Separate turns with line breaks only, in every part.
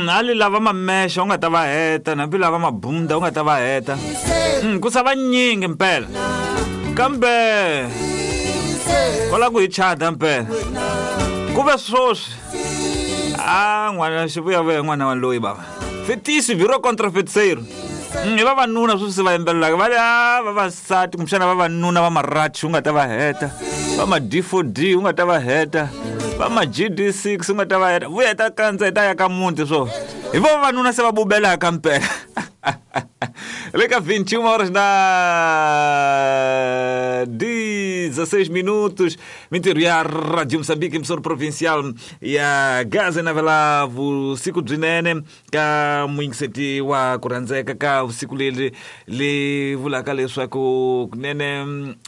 Ali lava mamexa u nga ta va heta, hambi lava mabunda u nga ta va heta. Ku sa vanyingi mpela. Kambe va lava ku hi chada mpela. Ku ve swoswi. A n'wana xivuyavuya n'wana wa loyi bava. Fetisi virou contra feiticeiro. Hi vavanuna sweswi se va yimbelelaka va ri a vavasati kumbexana vavanuna va marachi u nga ta va heta, va ma D4D u nga ta va heta, va ma GD6 u nga ta va heta, vuya hi ta kandza hi ta ya ka muti swo. Hi vo vavanuna se va bubelaka mpela. Le ka 21 horas na 16 minutos, mintirho ya Radio Moçambique, emissora provincial ya Gaza navela vusiku byinene ka muyingiseti wa ku rhandzeka ka vusiku leri li vulaka leswaku kunene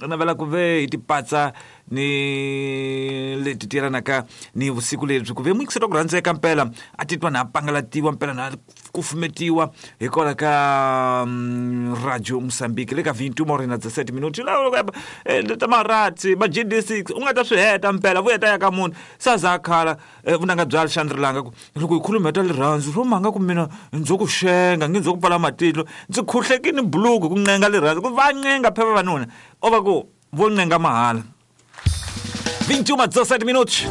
navela ku ve hi tipatsa ni leti ti yelanaka ni vusiku lebyi ku ve muyingiseti wa ku rhandzeka mpela a titwa na a pangalatiwa mpela na kufumetiwa hikwalaho ka Radio Moçambique le ka 21 horas na 17 minutos ta maratsi va GD6 u nga ta swi heta mpela vuya ta ya ka munhu se a za a khala vunanga bya Alexandre Langa ku loko hi khuluma hi ta rirhandzu swo mhanga ku mina ndzo ku xenga nge ndzo ku pfala matihlo ndzi khuhlekini buluku ku ncenga rirhandzu ku va ncenga phe vavanuna o va ku vo ncenga mahala. 21 17 minutos.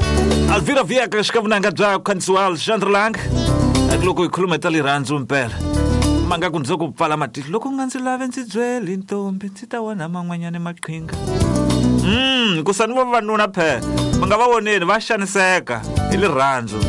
Alvira Viegas ka vunanga bya ku khandzisiwa Alexandre Lang. Loko hi khuluma hi ta rirhandzu mpela. Manga ku ndzo ku pfala matihlo loko u nga ndzi lavi ndzi byeli ntombi ndzi ta wona man'wanyana maqhinga. Ku sani vavanuna phe va nga va voneni va xaniseka hi rirhandzu.